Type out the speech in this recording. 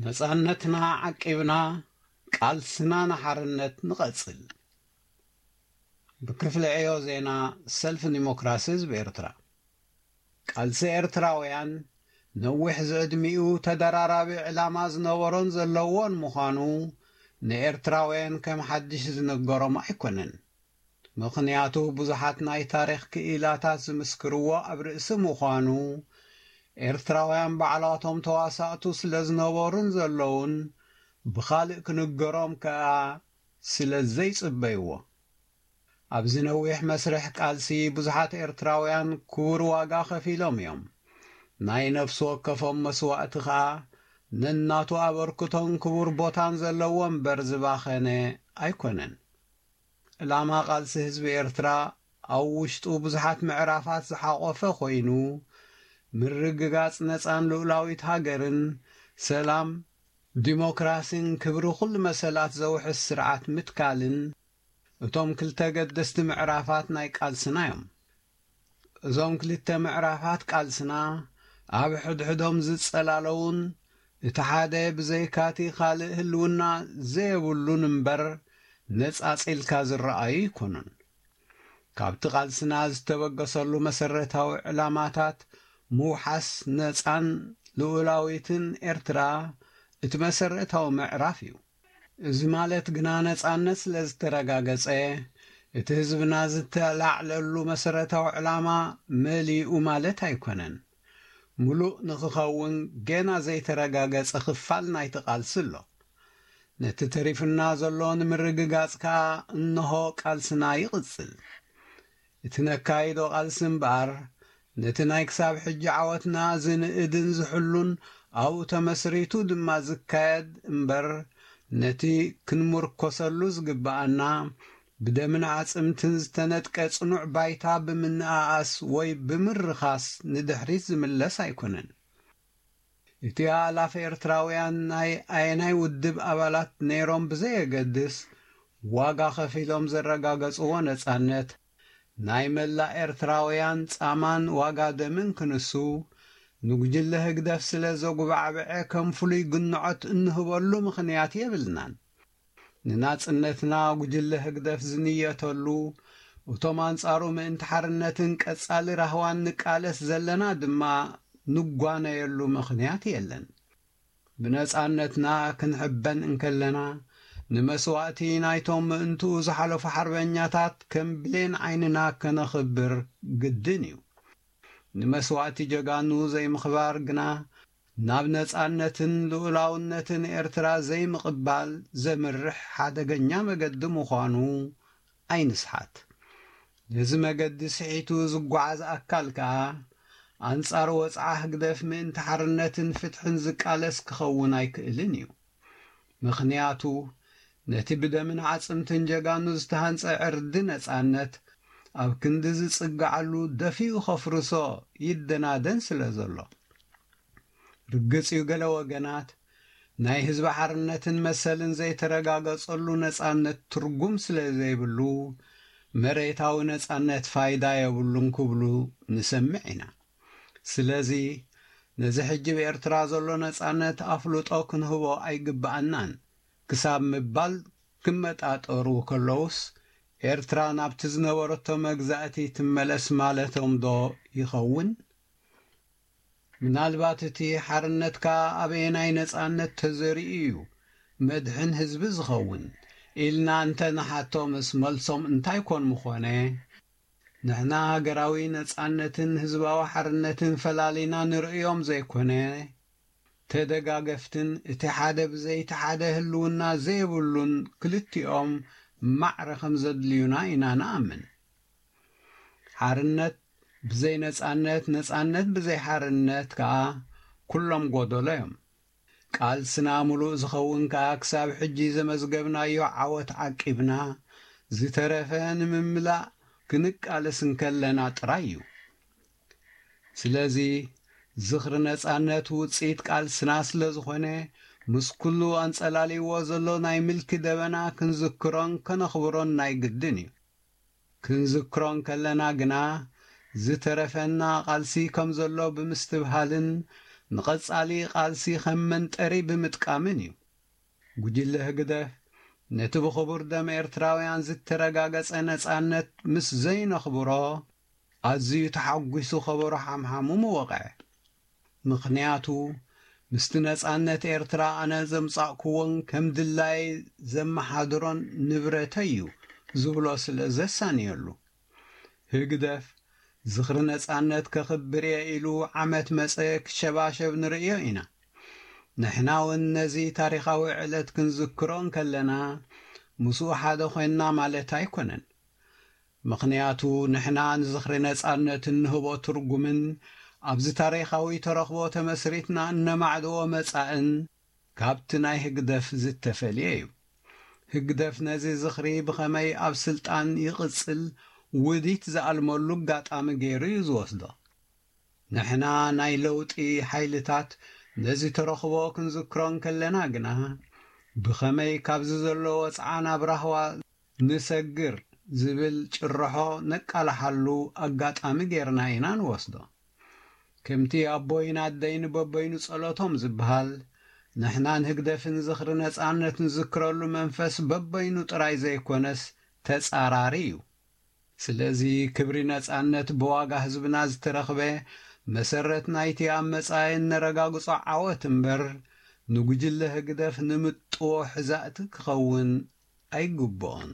ነጻነትና ዓቂብና ቃልስና ንሓርነት ንቐጽል። ብክፍሊ ዕዮ ዜና ሰልፊ ዲሞክራሲ ህዝቢ ኤርትራ። ቃልሲ ኤርትራውያን ነዊሕ ዝዕድሚኡ ተደራራቢ ዕላማ ዝነበሮን ዘለዎን ምዃኑ ንኤርትራውያን ከም ሓድሽ ዝንገሮም ኣይኮነን። ምኽንያቱ ብዙሓት ናይ ታሪኽ ክኢላታት ዝምስክርዎ ኣብ ርእሲ ምዃኑ፣ ኤርትራውያን ባዕላቶም ተዋሳእቱ ስለ ዝነበሩን ዘለዉን፣ ብኻልእ ክንገሮም ከኣ ስለ ዘይጽበይዎ። ኣብዚ ነዊሕ መስርሕ ቃልሲ ብዙሓት ኤርትራውያን ክቡር ዋጋ ከፊሎም እዮም። ናይ ነፍሲ ወከፎም መስዋእቲ ከኣ ነናቱ ኣበርክቶን ክቡር ቦታን ዘለዎ እምበር ዝባኸነ ኣይኮነን። ዕላማ ቃልሲ ህዝቢ ኤርትራ ኣብ ውሽጡ ብዙሓት ምዕራፋት ዝሓቖፈ ኮይኑ፣ ምርግጋጽ ነጻን ልኡላዊት ሃገርን፣ ሰላም፣ ዲሞክራሲን ክብሪ ኩሉ መሰላት ዘውሕስ ስርዓት ምትካልን እቶም ክልተ ገደስቲ ምዕራፋት ናይ ቃልስና እዮም። እዞም ክልተ ምዕራፋት ቃልስና ኣብ ሕድሕዶም ዝጸላለዉን እቲ ሓደ ብዘይካቲ ካልእ ህልውና ዘየብሉን እምበር ነጻጺልካ ዝረኣዩ ኣይኮኑን። ካብቲ ቃልስና ዝተበገሰሉ መሰረታዊ ዕላማታት ምውሓስ ነጻን ልኡላዊትን ኤርትራ እቲ መሰረታዊ ምዕራፍ እዩ። እዚ ማለት ግና ነጻነት ስለ ዝተረጋገጸ እቲ ህዝብና ዝተላዕለሉ መሰረታዊ ዕላማ መሊኡ ማለት ኣይኮነን። ምሉእ ንኽኸውን ገና ዘይተረጋገጸ ክፋል ናይቲ ቃልሲ ኣሎ። ነቲ ተሪፍና ዘሎ ንምርግጋጽ ከኣ እንሆ ቃልስና ይቕጽል። እቲ ነካይዶ ቃልሲ እምበኣር፣ ነቲ ናይ ክሳብ ሕጂ ዓወትና ዝንእድን ዝሕሉን ኣብኡ ተመስሪቱ ድማ ዝካየድ እምበር፣ ነቲ ክንምርኮሰሉ ዝግብኣና ብደምን ኣዕጽምትን ዝተነጥቀ ጽኑዕ ባይታ ብምንኣኣስ ወይ ብምርኻስ ንድሕሪት ዝምለስ ኣይኮነን። እቲ ኣእላፍ ኤርትራውያን ናይ ኣየናይ ውድብ ኣባላት ነይሮም ብዘየገድስ፣ ዋጋ ከፊሎም ዘረጋገጽዎ ነጻነት፣ ናይ መላእ ኤርትራውያን ጻማን ዋጋ ደምን ክንሱ፣ ንጉጅለ ህግደፍ ስለ ዘጉባዕብዐ ከም ፍሉይ ግንዖት እንህበሉ ምኽንያት የብልናን። ንናጽነትና ጉጅለ ህግደፍ ዝንየተሉ፣ እቶም ኣንጻሩ ምእንቲ ሓርነትን ቀጻሊ ራህዋን ንቃለስ ዘለና ድማ ንጓነየሉ ምኽንያት የለን። ብነጻነትና ክንሕበን እንከለና፣ ንመስዋእቲ ናይቶም ምእንትኡ ዝሓለፉ ሓርበኛታት ከም ብሌን ዓይንና ከነኽብር ግድን እዩ። ንመስዋእቲ ጀጋኑ ዘይምኽባር ግና፣ ናብ ነጻነትን ልኡላውነትን ኤርትራ ዘይምቕባል ዘምርሕ ሓደገኛ መገዲ ምዃኑ ኣይንስሓት። ነዚ መገዲ ስሒቱ ዝጓዓዝ ኣካል ከኣ፣ ኣንጻር ወጽዓ ህግደፍ ምእንቲ ሓርነትን ፍትሕን ዝቃለስ ክኸውን ኣይክእልን እዩ። ምኽንያቱ፣ ነቲ ብደምን ዓጽምትን ጀጋኑ ዝተሃንጸ ዕርዲ ነጻነት፣ ኣብ ክንዲ ዝጽግዓሉ ደፊኡ ከፍርሶ ይደናደን ስለ ዘሎ። ርግጽ እዩ፣ ገለ ወገናት ናይ ህዝቢ ሓርነትን መሰልን ዘይተረጋገጸሉ ነጻነት ትርጉም ስለ ዘይብሉ፣ መሬታዊ ነጻነት ፋይዳ የብሉን ክብሉ ንሰምዕ ኢና። ስለዚ፣ ነዚ ሕጂ ብኤርትራ ዘሎ ነጻነት ኣፍልጦ ክንህቦ ኣይግብኣናን ክሳብ ምባል ክመጣጠሩ ከለዉስ፣ ኤርትራ ናብቲ ዝነበረቶ መግዛእቲ ትመለስ ማለቶም ዶ ይኸውን? ምናልባት እቲ ሓርነትካ ኣበየናይ ነጻነት ተዘሪኡ እዩ መድሕን ህዝቢ ዝኸውን? ኢልና እንተ ንሓቶምስ፣ መልሶም እንታይ ኮን ምኾነ? ንሕና ሃገራዊ ነጻነትን ህዝባዊ ሓርነትን ፈላሊና ንርእዮም ዘይኮነ፣ ተደጋገፍትን እቲ ሓደ ብዘይቲ ሓደ ህልውና ዘይብሉን ክልቲኦም ማዕረ ከም ዘድልዩና ኢና ንኣምን። ሓርነት ብዘይ ነጻነት፣ ነጻነት ብዘይ ሓርነት ከኣ ኩሎም ጎደሎ እዮም። ቃልስና ምሉእ ዝኸውን ከኣ ክሳብ ሕጂ ዘመዝገብናዮ ዓወት ዓቂብና፣ ዝተረፈ ንምምላእ ክንቃለስ እንከለና ጥራይ እዩ። ስለዚ፣ ዝኽሪ ነጻነት ውጽኢት ቃልስና ስለ ዝኾነ፣ ምስ ኩሉ ኣንጸላልይዎ ዘሎ ናይ ምልኪ ደበና ክንዝክሮን ከነኽብሮን ናይ ግድን እዩ። ክንዝክሮ እንከለና ግና፣ ዝተረፈና ቃልሲ ከም ዘሎ ብምስትብሃልን ንቐጻሊ ቃልሲ ከም መንጠሪ ብምጥቃምን እዩ። ጉጅለ ህግደፍ ነቲ ብኽቡር ደም ኤርትራውያን ዝተረጋገጸ ነጻነት ምስ ዘይነኽብሮ ኣዝዩ ተሓጒሱ ከበሮ ሓምሓሙ ምወቕዐ። ምኽንያቱ ምስቲ ነጻነት ኤርትራ ኣነ ዘምጻእኩዎን ከም ድላይ ዘመሓድሮን ንብረተይ እዩ ዝብሎ ስለ ዘሳንየሉ። ህግደፍ ዝኽሪ ነጻነት ከኽብር እየ ኢሉ ዓመት መጸ ክሸባሸብ ንርእዮ ኢና። ንሕና እውን ነዚ ታሪኻዊ ዕለት ክንዝክሮ እንከለና ምስኡ ሓደ ኮይንና ማለት ኣይኮነን። ምኽንያቱ ንሕና ንዝኽሪ ነጻነት እንህቦ ትርጉምን ኣብዚ ታሪኻዊ ተረኽቦ ተመስሪትና እነማዕድዎ መጻእን ካብቲ ናይ ህግደፍ ዝተፈልየ እዩ። ህግደፍ ነዚ ዝኽሪ ብኸመይ ኣብ ስልጣን ይቕጽል ውዲት ዝኣልመሉ ኣጋጣሚ ገይሩ እዩ ዝወስዶ። ንሕና ናይ ለውጢ ሓይልታት ነዚ ተረኽቦ ክንዝክሮ እንከለና ግና ብኸመይ ካብዚ ዘሎ ወጽዓ ናብ ራህዋ ንሰግር ዝብል ጭርሖ ነቃልሓሉ ኣጋጣሚ ጌርና ኢና ንወስዶ። ከምቲ ኣቦይን ኣደይን በበይኑ ጸሎቶም ዝበሃል፣ ንሕናን ህግደፍን ዝኽሪ ነጻነት ንዝክረሉ መንፈስ በበይኑ ጥራይ ዘይኮነስ ተጻራሪ እዩ። ስለዚ ክብሪ ነጻነት ብዋጋ ህዝብና ዝተረኽበ መሰረት ናይቲ ኣብ መጻኢ እነረጋግጾ ዓወት እምበር ንጉጅለ ህግደፍ ንምጥዎ ሕዛእቲ ክኸውን ኣይግብኦን።